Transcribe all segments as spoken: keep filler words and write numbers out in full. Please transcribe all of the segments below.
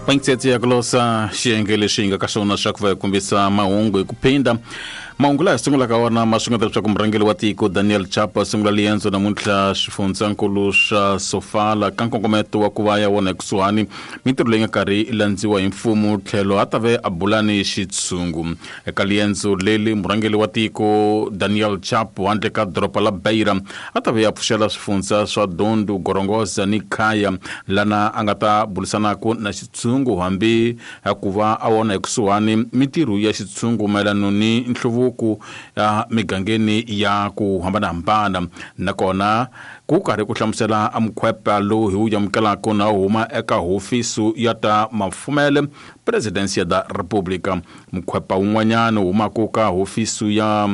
Pankitsetsi ya kulosa xiyenge lexi hi nga ka xona xa ku va hi kombisa mahungu hi ku phinda mahungu laha hi sungulaka wona ma swi nga ta leswaku murhangeri wa tiko Daniel Chapo a sungula liendzo namuntlha xifundzankulu xa Sofala ka nkongometo wa ku va ya wona ekusuhani mintirho leyi nga karhi yi landziwa hi mfumo tlhelo a ta ve a bula ni xitshungu eka liendzo leli murhangeri wa tiko Daniel Chapo handle ka doroba la Beira a ta ve a pfuxela swifundza swa Dondo Gorongosa ni Khaya lana a nga ta bulisanaka na xitshungu hambi ku va a wona ekusuhani mintirho ya xitshungu mayelana ni nhluvuko ya migangeni ya ku hambanahambana nakona ku karhi ku hlamusela a mukhwepa lowu hi wu amukelaka na huma eka hofisi ya ta mafumele Presidencia da República mukhwepa wun'wanyana humaka ka hofisi ya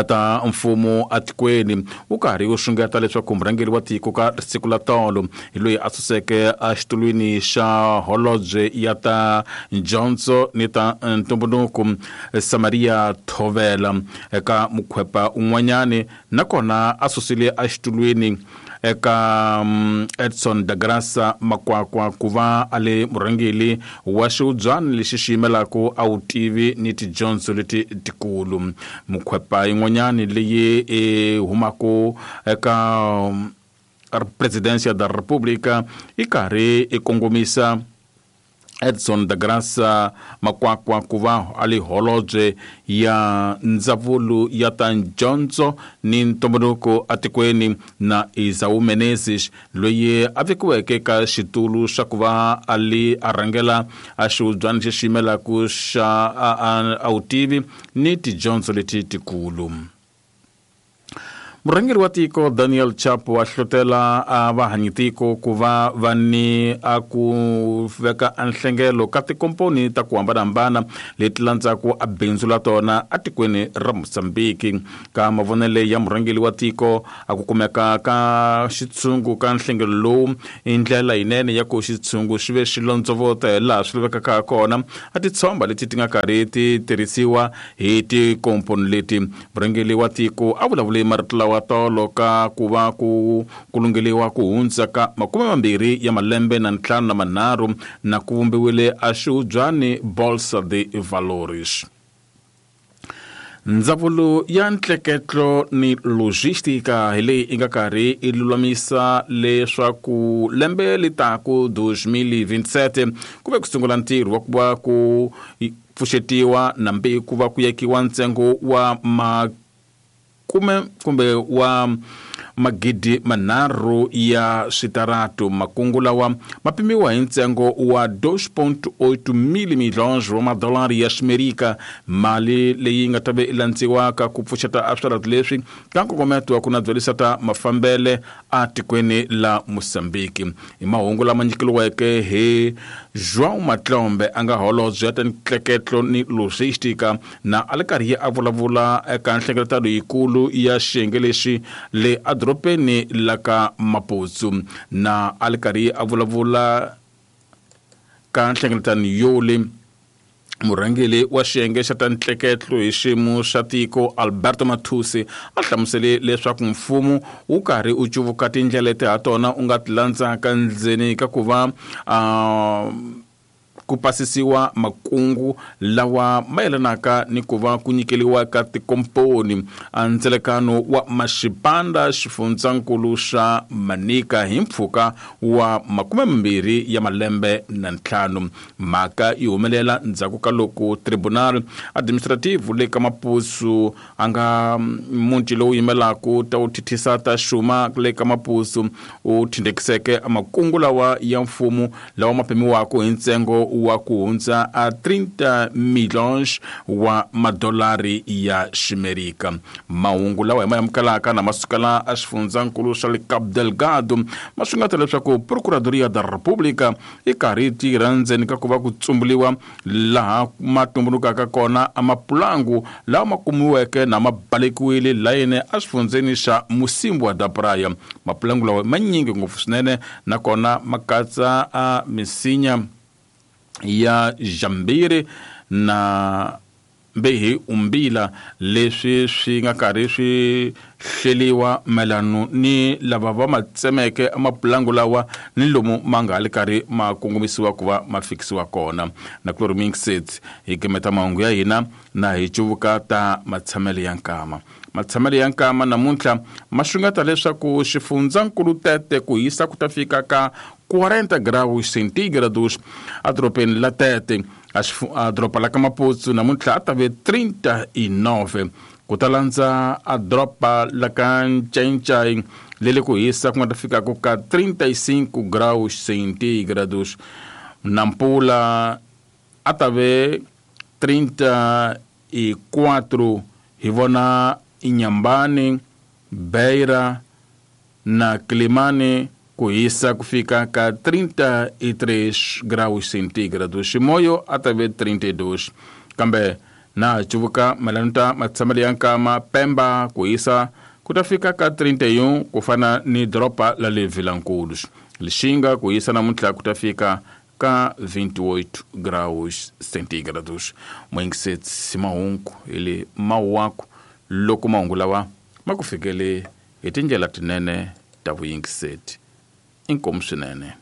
ta mfumo atikweni wu karhi wu xungeta leswaku murhangeri wa tiko ka siku la tolo hi loyi a suseke exitulwini xa holobye ya ta dyondzo ni ta ntumbuluko Samaria Thovela eka mukhwepa un'wanyani nakona a susile exitulwini eka Edson da Graça Makwakwa ku va a le murhangeri wa xiubyana lexi xi yimelaka a wutivi ni tidyondzo leti tikulu mukhwepa yin'wanyani leyi e humaka eka Presidencia da República i karhi i kongomisa Edson da Graça Makwakwa ku va a le holobye ya ndzawulo ya ta dyondzo ni ntumbuluko atikweni na Isau Menezes loyi a vekiweke ka xitulu xa ku va a li a rhangela a xiubyana lexi xi yimelaka xa a wutivi ni tidyondzo leti tikulu. Murhangeri wa tiko Daniel Chapo a hlotela a vahanyitiko ku va va ni a ku veka nhlengelo ka tikomponi ta ku hambanahambana leti landzaka a bindzu la tona atikweni ra Mozambiki ka mavonele ya murhangeri wa tiko a ku kumeka ka xitshungu ka nhlengelo lowu i ndlela yinene ya ku xitshungu xi ve xi londzovota hi laha swi lavekaka ha kona a titshomba leti ti nga karhi ti tirhisiwa hi tikomponi leti murhangeri wa tiko a vulavule marito lawa tolo ka ku va ku kulungeliwa ku hundza ka makume mambirhi ya malembe na ntlhanu na manharhu na ku vumbiwile a xiubyani Bolsa de Valores. Ndzawulo ya ntleketlo ni logistika hi leyi yi nga karhi yi lulamisa leswaku lembe litaku dos mil e vinte e sete ku ve ku sungula ntirho wa ku va ku pfuxetiwa nambi ku va ku yekiwa ntsengo wa ma kume kumbe wa magidi manharhu ya switaratu makungu lawa ma pimiwa hi ntsengo wa dois ponto oito mil milhões wa madolari ya ximerika mali leyi nga ta ve landziwaka ku pfuxeta a switaratu leswi ka nkongometo wa ku nadzolisa ta mafambele atikweni la Mozambiki hi mahungu lama nyikeliweke hi João Matlombe a nga holobye ya ta ntleketlo ni logistika na a li karhi a vulavula eka nhlengeletano yikulu ya xiyenge lexi le edorobeni la ka Maputo na a li karhi a vulavula ka nhlengeletano yole murhangeri wa xiyenge xa ta ntleketlo hi xiyimo xa tiko Alberto Matusi a hlamusele leswaku mfumo wu karhi u cuvuka tindlela leti ha tona u nga ti landzaka ndzeni ka ku va uh, ku pasisiwa makungu lawa mayelanaka ni ku va ku nyikeliwa ka tikomponi a ndzelekano wa Maxipanda xifundzankulu xa Manika hi mpfhuka wa makume mambirhi ya malembe na ntlhanu mhaka yi humelela ndzhaku ka loko tribunal administrative le ka Maputo a nga muti lowu yimelaka ta wu thithisa ta xuma le ka Maputo u thindekiseke makungu lawa ya mfumo lawa ma pimiwaka hi ntsengo wa ku hundza a trinta milhões wa madolari ya ximerika mahungu lawa hi ma amukelaka na masukela a xifundzankulu xa le Cabo Delgado ma swi nga ta leswaku Procuradoria da República yi karhi yi tirha ndzeni ka ku va ku tsumbuliwa laha ma tumbulukaka kona a mapulangu lawa ma kumiweke na ma balekiwile layeni a xifundzeni xa Mocímboa da Praia mapulangu lawa manyingi ngopfu swinene nakona ma katsa a misinya ya Jambiri na mbehi umbila leswi swi nga karhi swi hleliwa mayelano ni lava va ma tsemeke mapulangu lawa ni lomu ma nga li karhi ma kongomisiwa ku va ma fikisiwa kona. Na ku mixed hi gimeta mahungu ya hina na hi cuvuka ta matshamelo ya nkama. Matshamelo ya nkama namuntlha ma xungeta leswaku xifundzankulu Tete ku hisa ku ta fika ka quarenta graus centígrados edorobeni la Tete. A doroba la ka Maputo namuntlha a ta ve trinta e nove, ku ta landza a doroba la ka Ncaincaí lele ku hisa ku nga ta fikaka ka trinta e cinco graus centígrados. Nampula a ta ve trinta e quatro, hi vona Inhambane, Beira na Quelimane ku hisa ku fika ka trinta e três graus centígrados. Chimoio a ta ve trinta e dois. Kambe na cuvuka mayelana ta matshamelo ya nkama Pemba ku hisa ku ta fika ka trinta e um, ku fana ni doroba la le Vilankulos. Lixinga ku hisa namuntlha ku ta fika ka vinte e oito graus centígrados. Moingiseti mahungu hi le Mawuwako loko mahungu lawa ma ku fikele hi tindlela tinene ta vuyingiseti. Inkomu swinene.